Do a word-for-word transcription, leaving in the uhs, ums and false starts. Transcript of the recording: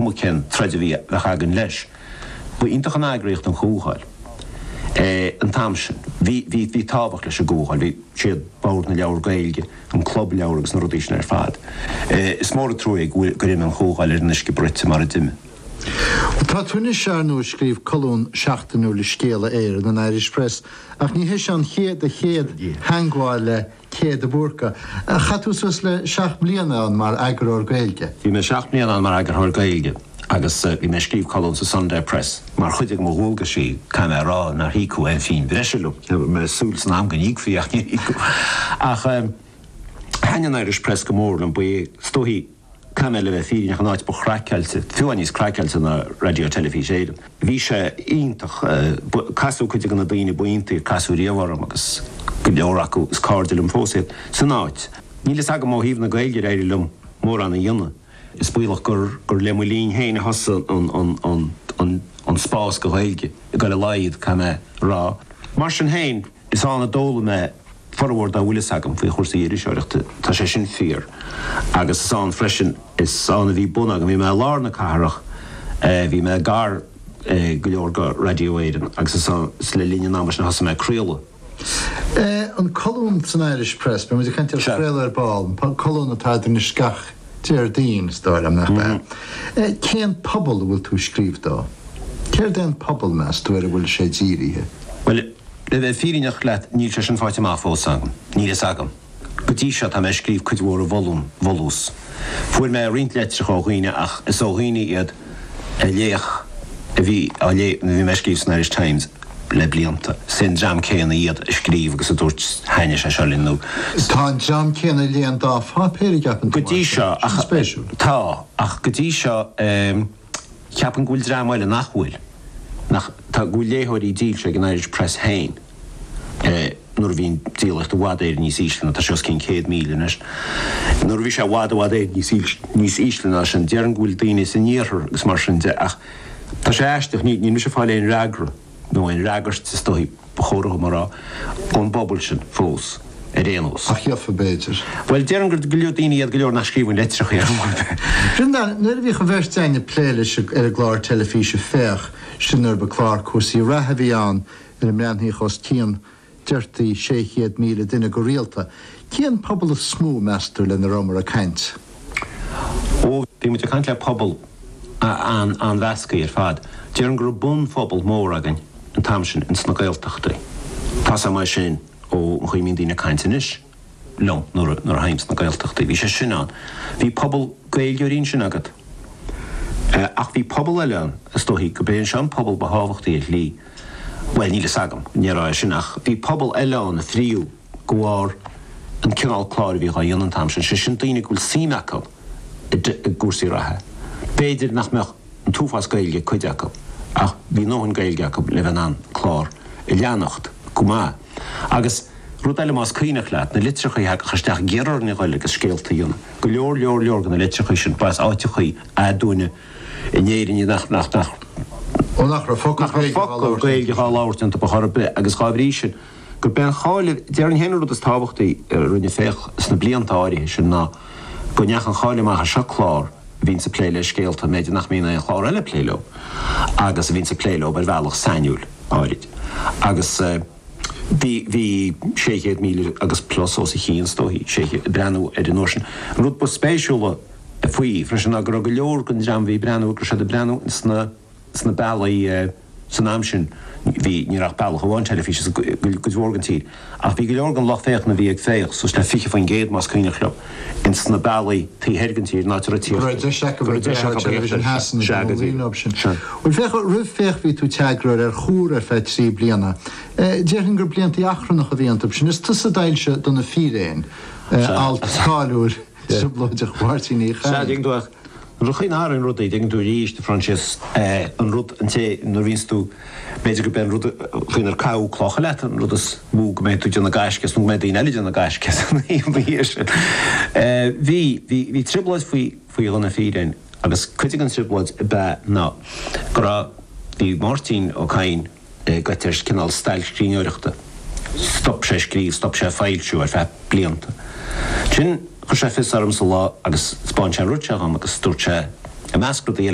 cuma cén troid a bhí bheadh againn leis. Ba iontach an eagraíocht an Chomhdháil. An t-am sin, bhí bhí bhí tábhacht leis an gComhdháil, bhí siad Bord na Leabhar Gaeilge, an Club Leabhar agus na rudaí sin ar fad. Is mór an trua é go bhfuil gur imigh an Chomhdháil ar an uisce bruite mar a d'imigh. Tá tú anois ar ndóigh ag scríobh colún seachtainiúil i Scéala Éireann, an Irish Press, ach ní hé seo an chéad do chéad theagmháil le Cé de Búrca. Chaith tú suas le seacht mbliana ann mar eagarthóir Gaeilge. Bhí mé seacht mbliana ann mar eagarthóir Gaeilge agus bhí mé ag scríobh colún sa Sunday Press mar chuid de mo dhualgaisí, caithfidh mé a rá nár íocadh aon phingin bhreise liom. Bhí mé ag súil san am go n-íocfaí ach níor íocadh. Ach thaitin an Irish Press go mór liom, ba é is dóichí, caithfidh mé le bheith fírinneach, an áit ba chraiceáilte, fiú amháin níos craiceáilte ná Raidió Teilifís Éireann. Bhí sé iontach, casadh cuid de na daoine ba iontaí a casadh riamh orm agus go leor acu is cairde liom fós iad san áit. Níl fhios agam ó thaobh na Gaeilge ar éirigh liom mórán a dhéanamh. Is baolach gur gur le mo linn féin a thosaigh an an an an an spás do Ghaeilge ag dul i laghad, caithfidh mé a rá. Mar sin féin, is ann a d'fhoghlaim mé formhór dá bhfuil fhios agam faoi chúrsaí iriseoireachta, tá sé sin fíor. Agus is ann freisin, is ann a bhí bun agam, bhí mé i lár na cathrach, bhí mé gar go leor go Raidió Éireann agus is ann, is le linn an ama sin a thosaigh mé ag craoladh. An colún san Irish Press, beidh muid ag caint ar chraoladh ar ball, an colún atá agat anois gach Déardaoin, is dóigh liom, nach ea? Cén pobal a bhfuil tú ag scríobh dó? Céard é an pobal, meas tú, ar a bhfuil sé dírithe? Bhuel, le bheith fírinneach leat, níl sé sin faighte amach fós agam. Níl fhios agam. Go dtí seo, tá mé ag scríobh cuid mhór i bhfolús. Fuair mé roinnt litreacha ó dhaoine ach is ó dhaoine iad a léadh, a bhí á léamh nuair a bhí mé ag scríobh san Irish Times le blianta. Is é an dream céanna iad a scríobh agus a dúirt thaitnigh sé seo linn nó. Tá an dream céanna a léigh an dá pháipéar, an gceapann Go tú, dtí mar sin? seo, Sin ach spéisiúil. tá, ach go dtí seo, ceapaim go bhfuil dream eile nach bhfuil, nach, tá, go bhfuil léitheoirí dílse ag an Irish Press féin. Nuair a bhí an díolaíocht i bhfad Éireann níos ísle ná tá sé os cionn céad míle anois. Nuair a bhí sé i bhfad i bhfad Éireann níos níos ísle ná sin, déarfainn go bhfuil daoine san iarthar agus mar sin de ach tá sé aisteach, ní níl mise ag fáil aon fhreagra nó aon fhreagairt is dóichí ba chóir dom a rá, ón bpobal sin fós ar aon nós. Ach gheofa b'fhéidir. Bhuel, déarfainn gur go leor daoine iad go leor nach scríobhann litreacha ar chor ar bith. Breandán, nuair a bhíodh an bheirt againn ag plé leis ar an gclár teilifíse Féach, sin nuair ba clár cúrsaí reatha a bhí ann, ar a mbreathnaíodh os cionn, deirtí, sé chéad míle duine go rialta. Cén pobal is mó, meas tú, lena rabhamar ag caint? Ó, bhí muid ag caint le pobal an-mheasctha ar fad. Déarfainn go raibh bunphobal mór againn an t-am sin ins na Gaeltachtaí. Tá's agam é sin ó an chaoi a mbíonn daoine ag caint anois liom nuair a théim sna Gaeltachtaí. Bhí sé sin ann. Bhí pobal Gaeilgeoirí ansin agat. Ach bhí pobal eile ann, is dóichí go b'é seo an pobal ba thábhachtaí ar shlí. Bhuel, níl fhios agam, ní raibh é sin, ach bhí pobal eile ann a fríodh de bharr an cineál cláir a bhíodh á dhéanamh an t-am sin, sé sin daoine go bhfuil suim acu i gcúrsaí reatha. B'fhéidir nach mbeadh an t-uafás Gaeilge ag cuid acu, ach bhí a ndóthain Gaeilge acu le bheith in ann clár a leanacht go maith. Agus rud eile más cuimhneach leat, na litreacha a thagadh isteach ag iarraidh orainn a ghoil agus scéalta a dhéanamh, go leor leor leor de na litreacha sin, ba as áiteachaí aduaine in Éirinn nach nach nach Ó nach raibh focal nach raibh Gaeilge dhá focal labhairt Gaeilge iontu. dhá labhairt iontu ar chor ar bith agus dhá bhrí sin gurb é an cháil a déarfainn féin an rud is tábhachtaí a rinne Féach sna blianta áirithe sin ná go ndeachaigh an cháil amach as seo clár a bhíonns ag plé le scéalta b'fhéidir nach mbíonn aon chlár eile ag plé leo agus a bhíonns ag plé leo ar bhealach sainiúil áirid agus bhí bhí sé chéad míle agus plus os a chionn is dóichí, sé chéad, ag breathnú air an uair sin. An rud ba spéisiúla faoi freisin ná go raibh go leor den dream a bhí ag breathnú, go raibh siad ag breathnú sna sna bealaí san am sin, bhí, ní raibh ach bealach amháin teilifíse sa gcuid mhór den tír, ach bhí go leor den lucht féachana a bhí ag féach, suas le fiche faoin gcéad más cuimhneach liom, ins na bealaí taobh thoir den tír, in áit a raibh Go raibh deis acu go raibh deis breathnú acu ar Television féachaint Theas Sea, go leo díreach. sin. Sea. Bhuel féach, roimh Féach bhí tú i d'eagarthóir ar Chomhar ar feadh trí bliana. Déarfainn gur blianta achrannacha a bhí iontu sin. Is tusa a d'fhoilsigh Do na Fíréin, Sea. alt cáiliúil trioblóideach Mháirtín Uí Sea, Chadhain. dtuigeann tú ach nuair a chuimhním ar rudaí, dtuigeann tú arís, a Phroinsias, an rud, an té, nuair a bhíonns tú, b'fhéidir gurb é an rud faoinar caitheadh clocha leat an rud is mó go mbeidh tú ag déanamh gaisce as nó go mbeidh daoine eile ag déanamh gaisce as an ina dhiaidh sin. Bhí, bhí, bhí trioblóid faoi, faoi Do na Fíréin agus cuid den trioblóid ab ea ná go raibh, bhí Máirtín Ó Cadhain gaibhte ar chineál stailc scríbhneoireachta. Stop sé ag scríobh, stop sé ag foilsiú ar feadh blianta. Ansin chuir sé fios ormsa lá agus 'spáin sé an rud seo dhom agus dúirt sé, i measc rudaí eile,